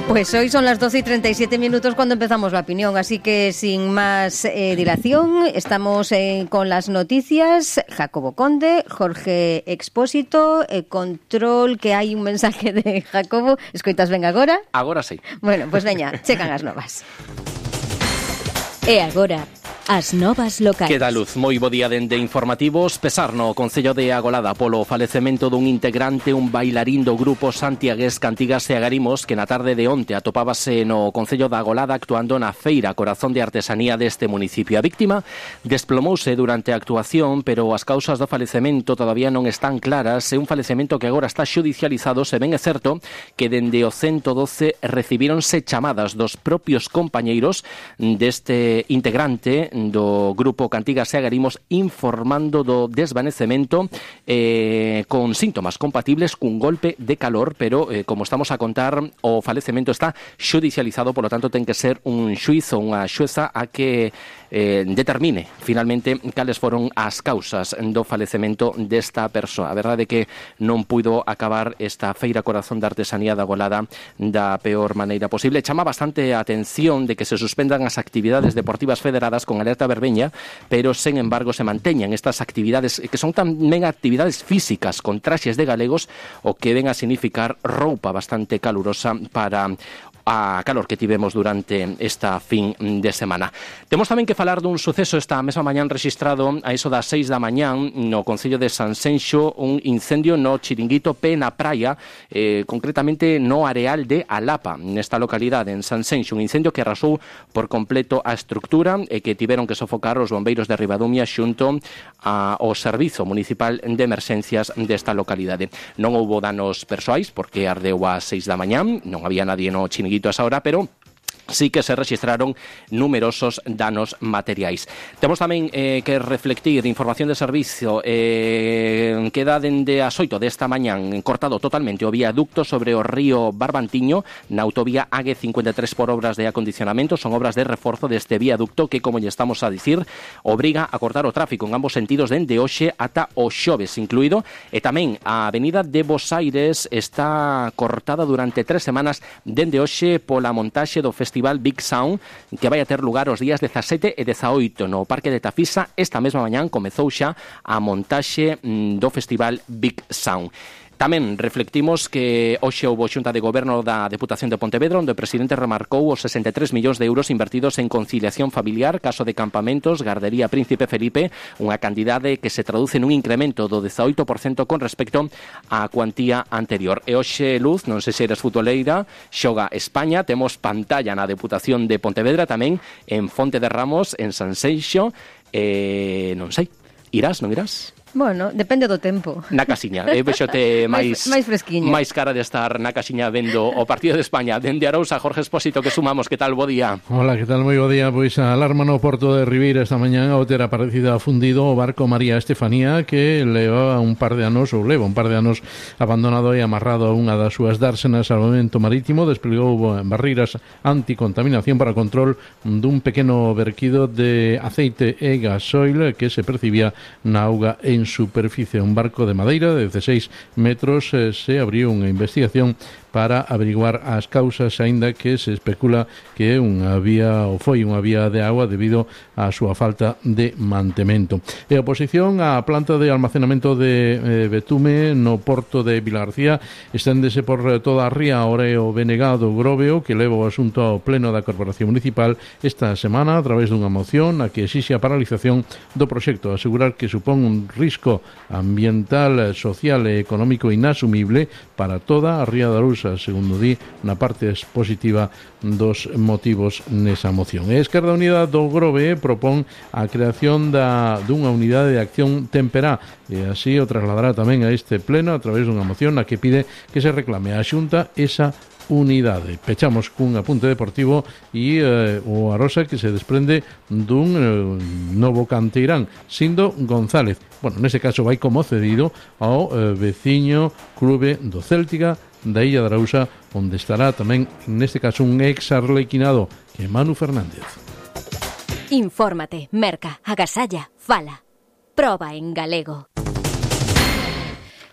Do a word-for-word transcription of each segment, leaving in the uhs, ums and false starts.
Pues hoy son las doce y treinta y siete minutos cuando empezamos la opinión, así que sin más eh, dilación, estamos eh, con las noticias. Jacobo Conde, Jorge Expósito, eh, control, que hai un mensaje de Jacobo. Escoitas ben agora? Agora sí. Bueno, pois pues veña, checan as novas. E agora, as novas locais. Queda luz, moi bo día dende informativos. Pesar no Concello de Agolada polo falecemento dun integrante, un bailarín do grupo santiagués Cantigas e Agarimos, que na tarde de onte atopábase no Concello da Agolada actuando na feira Corazón de Artesanía deste municipio. A víctima desplomouse durante a actuación, pero as causas do falecemento todavía non están claras. É un falecemento que agora está xudicializado. Se ben é certo que dende o ciento doce recibíronse chamadas dos propios compañeiros deste integrante do grupo Cantigas e Agarimos informando do desvanecemento eh, con síntomas compatibles cun golpe de calor, pero eh, como estamos a contar, o falecemento está xudicializado, polo tanto ten que ser un xuíz ou unha xueza a que eh, determine finalmente cales foron as causas do falecemento desta persoa. A verdade é que non puido acabar esta feira Corazón de Artesanía da Agolada da peor maneira posible. Chama bastante a atención de que se suspendan as actividades deportivas federadas con alerta verbeña, pero sen embargo se manteñan estas actividades que son tamén actividades físicas con traxes de galegos, o que ven a significar roupa bastante calurosa para a calor que tivemos durante esta fin de semana. Temos tamén que falar dun suceso esta mesma mañán rexistrado a iso das seis da mañán no Concello de Sanxenxo, un incendio no Chiringuito P na praia, eh, concretamente no areal de Alapa, nesta localidade en Sanxenxo, un incendio que arrasou por completo a estructura e que tiveron que sofocar os bombeiros de Ribadumia xunto ao Servizo Municipal de Emerxencias desta localidade. Non houbo danos persoais porque ardeu ás seis da mañán, non había nadie no Chiringuito a esa hora, pero sí que se registraron numerosos danos materiais. Temos tamén eh, que reflectir información de servicio. Eh, queda dende as oito desta mañán cortado totalmente o viaducto sobre o río Barbantiño na autovía A G cincuenta e tres por obras de acondicionamento. Son obras de reforzo deste viaducto que, como lle estamos a dicir, obriga a cortar o tráfico en ambos sentidos dende hoxe ata o xoves incluído. E tamén a avenida de Bos Aires está cortada durante tres semanas dende hoxe pola montaxe do Festival Big Sound, que vai a ter lugar os días dezasete e dezaoito no Parque de Tafisa. Esta mesma mañán comezou xa a montaxe do Festival Big Sound. Tamén reflectimos que hoxe houbo xunta de goberno da Deputación de Pontevedra, onde o presidente remarcou os sesenta e tres millóns de euros invertidos en conciliación familiar, caso de campamentos, Gardería Príncipe Felipe, unha cantidade que se traduce nun incremento do dezaoito por cento con respecto á cuantía anterior. E hoxe, Luz, non sei se eres futboleira, xoga España, temos pantalla na Deputación de Pontevedra, tamén en Fonte de Ramos, en Sanxenxo, e non sei, irás, non irás? Bueno, depende do tempo. Na casiña, eu vexote máis máis fresquiña. máis cara de estar na casiña vendo o partido de España. Dende Arousa, Jorge Expósito, que sumamos, que tal, bo día? Hola, que tal, moi bo día. Pois a alarma no porto de Ribeira esta mañán ao ter aparecido fundido o barco María Estefanía, que leva un par de anos, ou leva un par de anos abandonado e amarrado a unha das súas dársenas ao Salvamento Marítimo. Desplegou barreiras anticontaminación para o control dun pequeno verquido de aceite e gasoil que se percibía na auga en en superficie. Un barco de madeira de dezasseis metros eh, se abriu unha investigación para averiguar as causas, aínda que se especula que é unha vía ou foi unha vía de agua debido á súa falta de mantemento. E a oposición á planta de almacenamento de eh, betume no porto de Vilagarcía esténdese por toda a ría ora o B N G do Groveo, que leva o asunto ao pleno da Corporación Municipal esta semana a través dunha moción a que exixe a paralización do proxecto, asegurar que supón un risco ambiental, social e económico inasumible para toda a ría da Arousa, segundo di na parte expositiva dos motivos nesa moción. E Esquerda Unida do Grove propón a creación da, dunha unidade de acción temperá, e así o trasladará tamén a este pleno a través dunha moción na que pide que se reclame a Xunta esa unidade. Pechamos cun apunte deportivo e eh, o Arosa que se desprende dun eh, novo canteirán, Sindo González. Bueno, nese caso vai como cedido ao eh, veciño clube do Céltica da Illa de Arousa, onde estará tamén, neste caso, un ex arlequinado, que é Manu Fernández. Infórmate, merca, agasalla, fala. Proba en galego.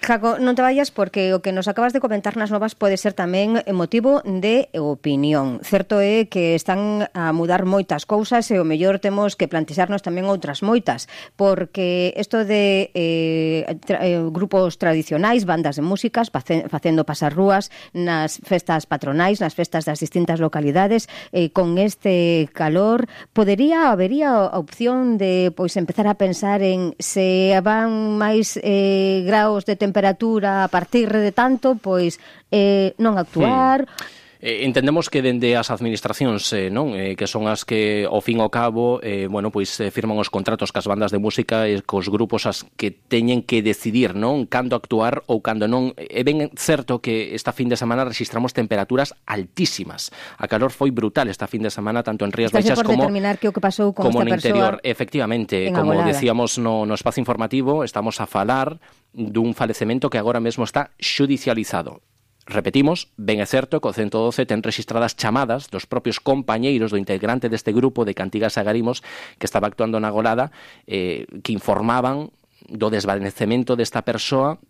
Jaco, non te vayas porque o que nos acabas de comentar nas novas pode ser tamén motivo de opinión. Certo é que están a mudar moitas cousas e o mellor temos que plantexarnos tamén outras moitas, porque isto de eh, tra, eh, grupos tradicionais, bandas de músicas, facendo pasar rúas nas festas patronais, nas festas das distintas localidades, eh, con este calor, podería, habería a opción de pois empezar a pensar en se van máis eh, graos de temperatura temperatura a partir de tanto, pois eh, non actuar. Hmm. Eh, entendemos que dende as administracións, eh, non, eh, que son as que ao fin ao cabo, eh, bueno, pois eh, firman os contratos cas bandas de música e cos grupos as que teñen que decidir, non, cando actuar ou cando non. É ben certo que esta fin de semana registramos temperaturas altísimas. A calor foi brutal esta fin de semana tanto en Rías Baixas como determinar que o que pasou con como esta no interior. persoa. Efectivamente, como Agolada. decíamos no, no espazo informativo, estamos a falar dun falecemento que agora mesmo está xudicializado. Repetimos, ben é certo que o ciento doce ten registradas chamadas dos propios compañeiros do integrante deste grupo de Cantigas e Agarimos que estaba actuando na Agolada, eh, que informaban do desvanecemento desta persoa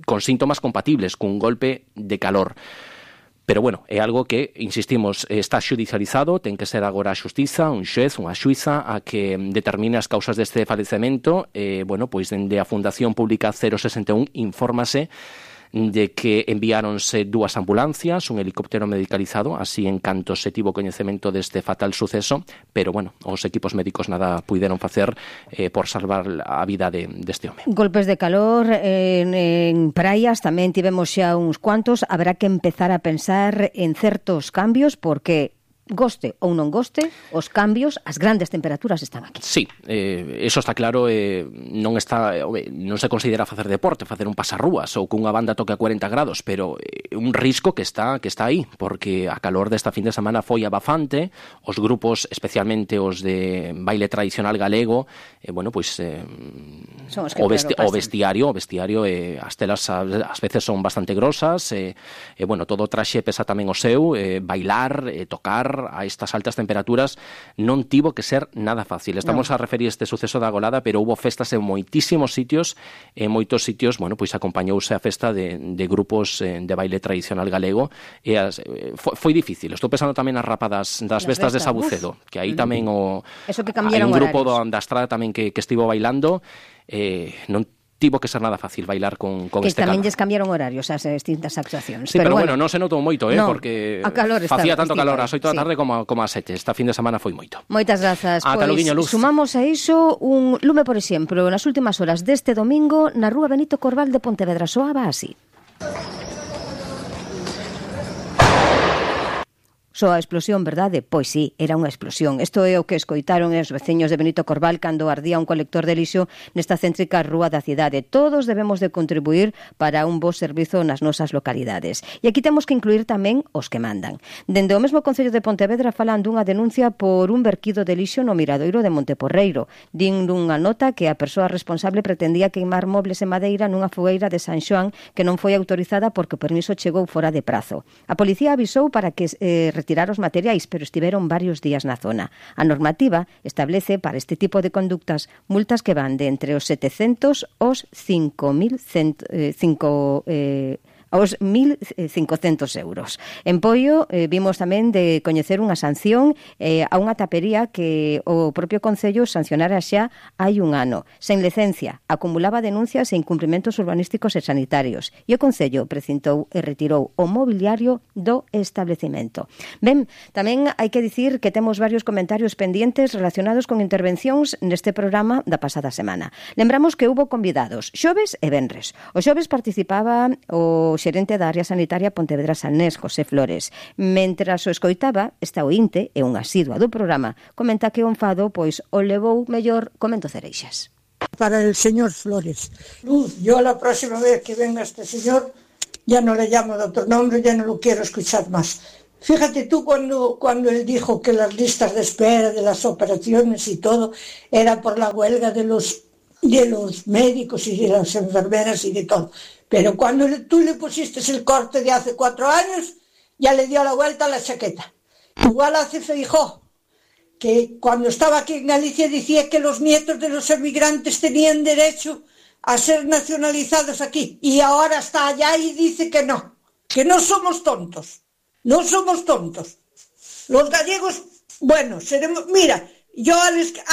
con síntomas compatibles cun golpe de calor. Pero, bueno, é algo que, insistimos, está xudicializado, ten que ser agora a xustiza, un xuez, unha xuiza, a que determine as causas deste falecemento. Eh, bueno, pois, dende a Fundación Pública cero sesenta e un infórmase de que enviáronse dúas ambulancias, un helicóptero medicalizado, así en canto se tivo coñecemento deste fatal suceso, pero, bueno, os equipos médicos nada puideron facer eh, por salvar a vida de, deste home. Golpes de calor en, en praias tamén tivemos xa uns cuantos, habrá que empezar a pensar en certos cambios porque goste ou non goste, os cambios, as grandes temperaturas están aquí. Sí, eh, eso está claro, eh, non está, eh, non se considera facer deporte, facer un pasarrúas ou que unha banda toque a cuarenta grados, pero eh, un risco que está que está aí, porque a calor desta fin de semana foi abafante, os grupos, especialmente os de baile tradicional galego, eh, bueno, pois eh, o, vesti o vestiario, o vestiario, eh, as telas ás veces son bastante grosas, e eh, eh, bueno, todo o traxe pesa tamén o seu, eh, bailar, eh, tocar a estas altas temperaturas non tivo que ser nada fácil. Estamos no. a referir este suceso da Agolada, pero hubo festas en moitísimos sitios, en moitos sitios, bueno, pois acompañouse a festa de, de grupos eh, de baile tradicional galego, e as, eh, foi, foi difícil. Estou pensando tamén as rapadas das festas de Sabucedo, que aí tamén o Eso que hai un grupo horarios. do, da Estrada tamén que, que estivo bailando, eh, non tivo que ser nada fácil bailar con, con que este tamén calor. lles cambiaron horarios as distintas actuacións. Sí, pero, pero bueno, bueno, non se notou moito, eh, no, porque facía facía tanto calor ás oito da sí. tarde como, como ás sete. Esta fin de semana foi moito. Moitas grazas. Ata Pois, loguiño, Luz. Sumamos a iso un lume, por exemplo, nas últimas horas deste domingo na rúa Benito Corbal de Pontevedra. Soaba así. Só a explosión, verdade? Pois sí, era unha explosión. Isto é o que escoitaron os veciños de Benito Corbal cando ardía un colector de lixo nesta céntrica rúa da cidade. Todos debemos de contribuir para un bo servizo nas nosas localidades. E aquí temos que incluir tamén os que mandan. Dende o mesmo Concello de Pontevedra falan dunha denuncia por un verquido de lixo no miradoiro de Monteporreiro. Din dunha nota que a persoa responsable pretendía queimar mobles e madeira nunha fogueira de San Xoán que non foi autorizada porque o permiso chegou fora de prazo. A policía avisou para que eh, retirar os materiais, pero estiveron varios días na zona. A normativa establece para este tipo de conductas multas que van de entre os setecentos aos cinco mil cinco eh, aos mil cincocentos euros. En Poio eh, vimos tamén de coñecer unha sanción eh, a unha tapería que o propio Concello sancionara xa hai un ano. Sen licencia, acumulaba denuncias e incumprimentos urbanísticos e sanitarios. E o Concello precintou e retirou o mobiliario do establecemento. Ben, tamén hai que dicir que temos varios comentarios pendientes relacionados con intervencións neste programa da pasada semana. Lembramos que hubo convidados xoves e venres. O xoves participaba o xerente da área sanitaria Pontevedra Sanés, José Flores. Mentras o escoitaba, esta ointe e unha asidua do programa comenta que o enfado pois o levou mellor comento Cereixas. Para el señor Flores. Luz, yo la próxima vez que venga este señor ya no le llamo de otro nombre, ya no lo quiero escuchar más. Fíjate tú cuando, cuando él dijo que las listas de espera de las operaciones y todo era por la huelga de los de los médicos y de las enfermeras y de todo. Pero cuando tú le pusiste el corte de hace cuatro años, ya le dio la vuelta a la chaqueta. Igual hace Feijóo, que cuando estaba aquí en Galicia decía que los nietos de los emigrantes tenían derecho a ser nacionalizados aquí y ahora está allá y dice que no, que no somos tontos, no somos tontos. Los gallegos, bueno, seremos, mira, yo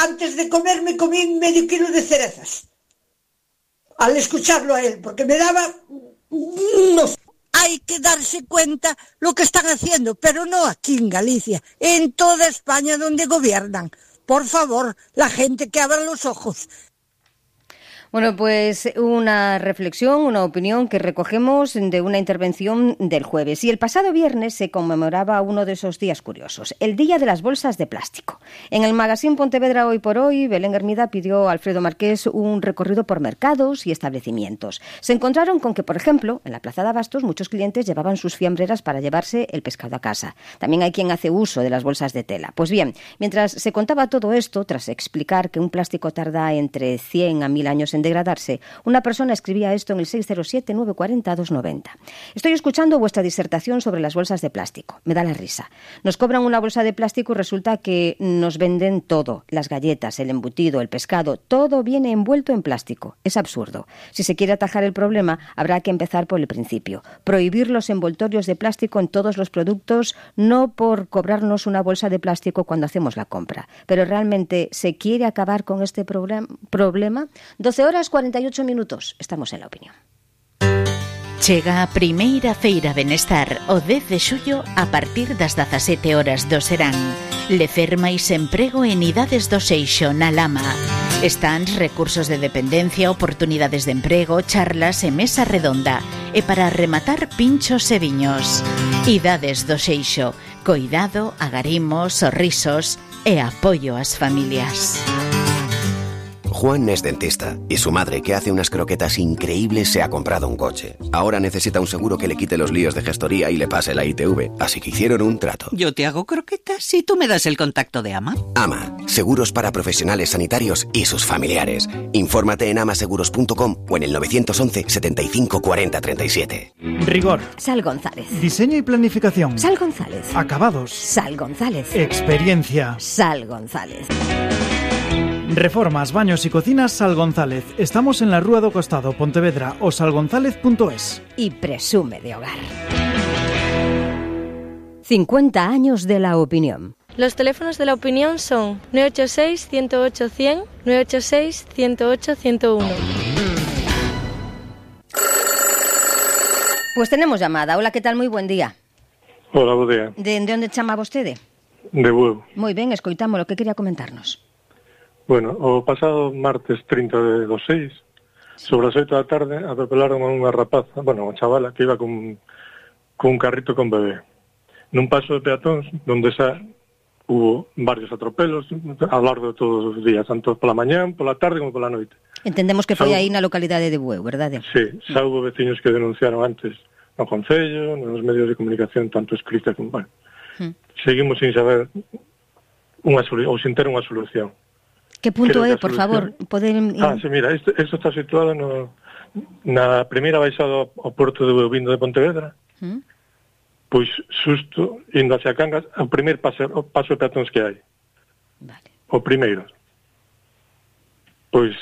antes de comer me comí medio kilo de cerezas, al escucharlo a él, porque me daba... No. Hay que darse cuenta lo que están haciendo, pero no aquí en Galicia, en toda España donde gobiernan. Por favor, la gente que abra los ojos. Bueno, pues una reflexión, una opinión que recogemos de una intervención del jueves. Y el pasado viernes se conmemoraba uno de esos días curiosos, el Día de las Bolsas de Plástico. En el magazine Pontevedra Hoy por Hoy, Belén Hermida pidió a Alfredo Marqués un recorrido por mercados y establecimientos. Se encontraron con que, por ejemplo, en la Plaza de Abastos muchos clientes llevaban sus fiambreras para llevarse el pescado a casa. También hay quien hace uso de las bolsas de tela. Pues bien, mientras se contaba todo esto, tras explicar que un plástico tarda entre cien a mil años en degradarse, una persona escribía esto en el seis cero siete, nueve cuatro cero, dos nueve cero. Estoy escuchando vuestra disertación sobre las bolsas de plástico. Me da la risa. Nos cobran una bolsa de plástico y resulta que nos venden todo. Las galletas, el embutido, el pescado, todo viene envuelto en plástico. Es absurdo. Si se quiere atajar el problema, habrá que empezar por el principio. Prohibir los envoltorios de plástico en todos los productos, no por cobrarnos una bolsa de plástico cuando hacemos la compra. Pero realmente, ¿se quiere acabar con este problem- problema? doce horas cuarenta y ocho minutos. Estamos en La Opinión. Chega a primeira feira Benestar o dez de xullo a partir das dezasete horas do serán. Lecer máis emprego en idades do Seixo na Lama. Stands, recursos de dependencia, oportunidades de emprego, charlas e mesa redonda. E para rematar, pinchos e viños. Idades do Seixo. Coidado, agarimos, sorrisos e apoio ás familias. Juan es dentista y su madre, que hace unas croquetas increíbles, se ha comprado un coche. Ahora necesita un seguro que le quite los líos de gestoría y le pase la I T V, así que hicieron un trato. Yo te hago croquetas y tú me das el contacto de AMA. AMA, seguros para profesionales sanitarios y sus familiares. Infórmate en amaseguros punto com o en el nueve once, setenta y cinco, cuarenta, treinta y siete. Rigor. Sal González. Diseño y planificación. Sal González. Acabados. Sal González. Experiencia. Sal González. Reformas, baños y cocinas Sal González. Estamos en la Rúa do Costado, Pontevedra, o salgonzález punto es. Y presume de hogar. cincuenta años de La Opinión. Los teléfonos de La Opinión son nueve ocho seis, uno cero ocho, cien, nueve ocho seis, uno cero ocho, ciento uno. Pues tenemos llamada. Hola, ¿qué tal? Muy buen día. Hola, buen día. De, de onde chama vostede? De Bueu. Moi ben, escoitámolo. Que quería comentarnos? Bueno, o pasado martes trinta de dos seis, sobre as oito da tarde, atropelaron a unha rapaza, bueno, unha chavala que iba con, con un carrito con bebé. Nun paso de peatóns, donde xa hubo varios atropelos a lo largo de todos os días, tanto pola mañán, pola tarde como pola noite. Entendemos que foi xa, aí na localidade de Bueu, verdade? Sí, xa hubo veciños que denunciaron antes no Concello, nos medios de comunicación, tanto escrita como... Bueno, hmm. Seguimos sin saber unha ou sin ter unha solución. Que punto é, por favor? Poden... Ah, sí, mira, isto, isto está situado no, na primeira baixada ao porto de Vindo de Pontevedra, ¿Mm? Pois xusto, indo hacia Cangas, o primeiro paso, o paso de peatóns que hai. Vale. O primeiro. Pois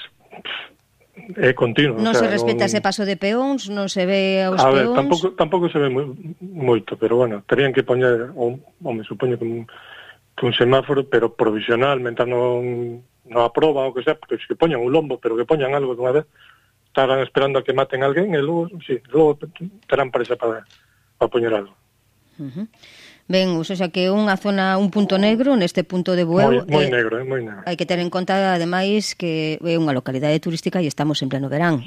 é continuo. Non o sea, se respeta non... ese paso de peóns, non se ve aos a peóns... A ver, tampouco, tampouco se ve moi, moito, pero bueno, terían que poñer, ou, ou me supoño que un, que un semáforo, pero provisional, mentre non... non aproba o que sea, porque que poñan un lombo, pero que poñan algo de unha vez, estarán esperando a que maten a alguén e logo, sí, logo terán presa para, para poñer algo. Uh-huh. Ben, o sea que unha zona, un punto negro neste punto de Bueu. Moi, moi eh, negro, eh, moi negro. Hai que ter en conta, ademais, que é unha localidade turística e estamos en pleno verán.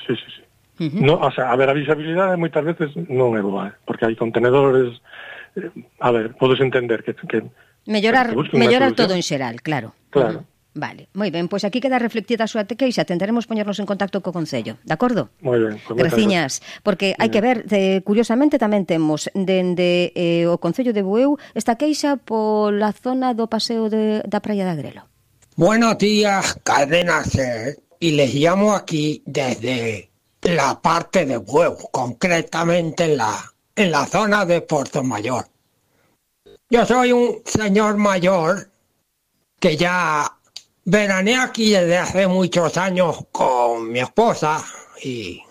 Sí, sí, sí. Uh-huh. No, o sea, a ver, a visibilidade moitas veces non é boa, eh, porque hai contenedores, eh, a ver, podes entender que... que mellorar que mellorar todo en xeral, claro. Claro. Uh-huh. Vale, moi ben, pois aquí queda reflectida a súa queixa, tentaremos poñernos en contacto co Concello, de acordo? Moi ben. Pues graciñas, porque hai que ver, de, curiosamente tamén temos dende eh, o Concello de Bueu esta queixa pola zona do paseo de, da Praia de Agrelo. Buenos días, Cadena Ser, y les llamo aquí desde la parte de Bueu, concretamente en la, en la zona de Puerto Mayor. Yo soy un señor mayor que ya veraneé aquí desde hace muchos años con mi esposa y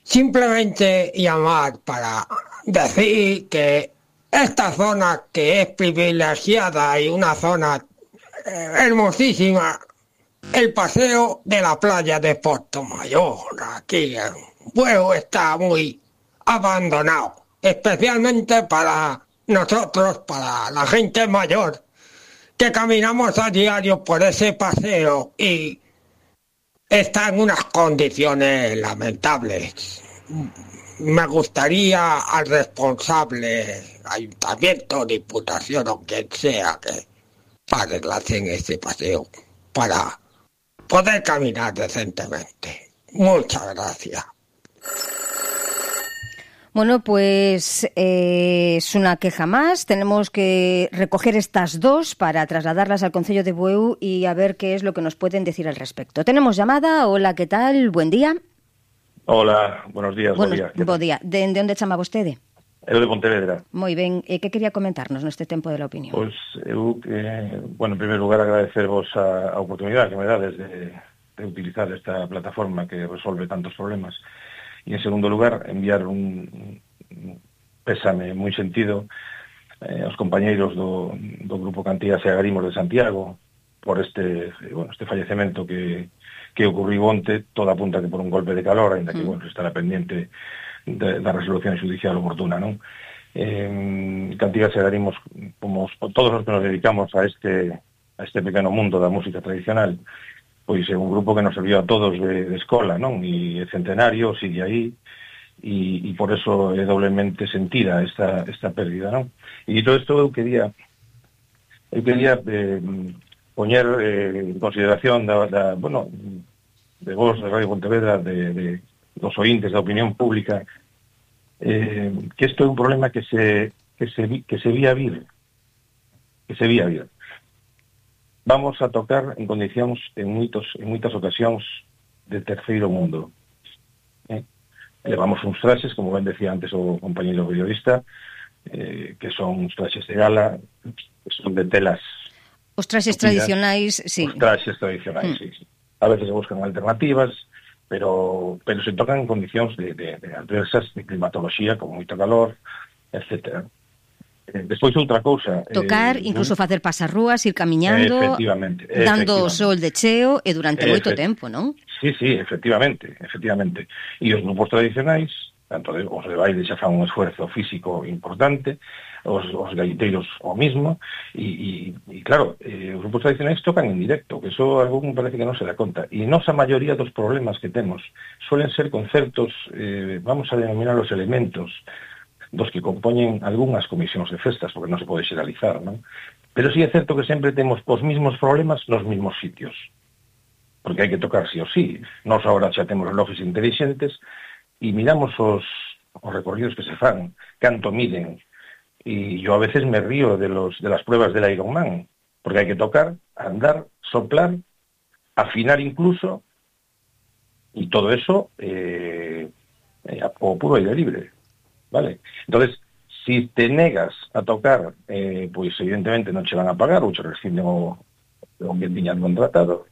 simplemente llamar para decir que esta zona que es privilegiada y una zona eh, hermosísima, el paseo de la playa de Portomayor, aquí en Bueu, está muy abandonado, especialmente para nosotros, para la gente mayor, que caminamos a diario por ese paseo y está en unas condiciones lamentables. Me gustaría al responsable, ayuntamiento, diputación o quien sea, que arreglasen ese paseo para poder caminar decentemente. Muchas gracias. Bueno, pues eh, es una queja más. Tenemos que recoger estas dos para trasladarlas al Concello de Bueu y a ver qué es lo que nos pueden decir al respecto. Tenemos llamada. Hola, ¿qué tal? Buen día. Hola, buenos días. Buenos, buen día. Bo día. De, de onde chama vostede? Eu de Pontevedra. Moi ben. E que quería comentarnos neste tempo de la opinión? Pois eu, eh, bueno, en primeiro lugar agradecervos a, a oportunidade que me dades de, de utilizar esta plataforma que resolve tantos problemas. E en segundo lugar, enviar un, un pésame moi sentido eh, aos compañeiros do, do Grupo Cantigas e Agarimos de Santiago por este, bueno, este fallecemento que que ocurriu onte, toda apunta que por un golpe de calor, ainda que, mm. bueno, estará pendiente de, da resolución judicial oportuna, non? Eh, Cantigas e Agarimos, como todos os que nos dedicamos a este a este pequeno mundo da música tradicional, pois é un grupo que nos serviu a todos de, de escola, non? E é centenario, sigue aí, e, e por eso é doblemente sentida esta, esta pérdida, non? E todo isto eu quería eu quería eh, poñer eh, en consideración da, da, bueno, de vos, de Radio Pontevedra, de, de dos ointes da opinión pública, eh, que isto é un problema que se que se, que se vía vir, que se vía vir. Vamos a tocar en condicións en moitos en moitas ocasións de terceiro mundo. Eh? Levamos uns traxes, como ben decía antes o compañeiro periodista, eh, que son uns traxes de gala, que son de telas. Os traxes tradicionais, sí. Os traxes tradicionais, mm. sí, sí. A veces se buscan alternativas, pero pero se tocan en condicións de, de, de adversas, de climatoloxía, con moito calor, etcétera. Eh, despois outra cousa... Tocar, eh, incluso non? Facer pasarrúas, ir camiñando, efectivamente, dando efectivamente. sol de cheo e durante Efect... moito tempo, non? Sí, sí, efectivamente, efectivamente. E os grupos tradicionais, tanto de, os de baile xa fan un esfuerzo físico importante, os, os gaiteiros o mismo, e, e, e claro, eh, os grupos tradicionais tocan en directo, que eso algún parece que non se dá conta. E nosa maioría dos problemas que temos suelen ser concertos, eh, vamos a denominar os elementos, dos que compoñen algunhas comisións de festas, porque non se pode xeralizar, non? Pero sí é certo que sempre temos os mismos problemas nos mismos sitios, porque hai que tocar sí o sí. Nós agora xa temos relojes inteligentes e miramos os, os recorridos que se fan, canto miden, e yo a veces me río de, los, de las pruebas del Ironman, porque hai que tocar, andar, soplar, afinar incluso, e todo eso eh, eh, o puro aire libre. Vale. Entonces, si te negas a tocar, eh, pois evidentemente non che van a pagar ou che rescinden o, o que tiñan contratado.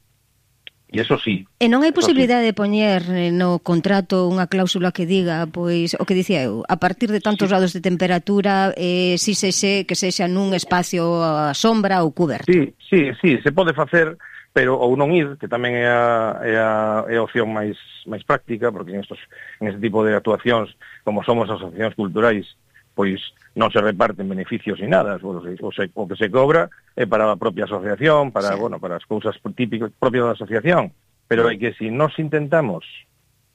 E eso sí. E non hai posibilidade sí. de poñer no contrato unha cláusula que diga, pois, o que dicía eu, a partir de tantos sí. grados de temperatura, eh, si se xe, que sexa nun espacio a sombra ou cuberto. Sí, sí, sí, se pode facer, pero ou non ir, que tamén é a, é a, é a opción máis máis práctica, porque en, estos, en este tipo de actuacións, como somos asociacións culturais, pois non se reparten beneficios ni nada, o, o, se, o que se cobra é para a propia asociación, para, sí. bueno, para as cousas típicas propias da asociación, pero é que se si nos intentamos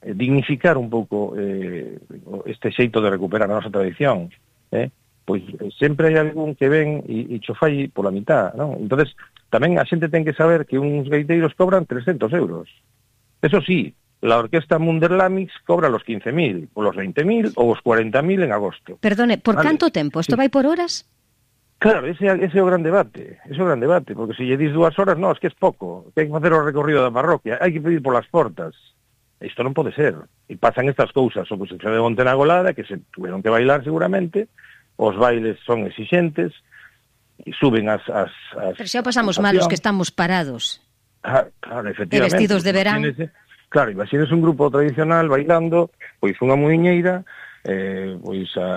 eh, dignificar un pouco eh, este xeito de recuperar a nosa tradición, eh, pois sempre hai algún que ven e, e cho fai pola mitad, non? Entonces, tamén a xente ten que saber que uns gaiteiros cobran trescentos euros. Eso sí, la orquesta Munderlamix cobra los quince mil, o los veinte mil, ou os cuarenta mil en agosto. Perdone, por vale. Canto tempo? Isto sí. vai por horas? Claro, ese, ese é o gran debate, ese é o gran debate, porque se lle dis dúas horas, non, es que é pouco, que hai que facer o recorrido da parroquia, hai que pedir polas portas. Isto non pode ser. E pasan estas cousas, o que se de Monte na Golada, que se tuvieron que bailar seguramente, os bailes son exixentes, suben as... as, as Pero xa pasamos malos que estamos parados. Ah, claro, efectivamente. E vestidos de verán. Imagínese, claro, imagínese un grupo tradicional bailando, pois unha muiñeira, eh, pois a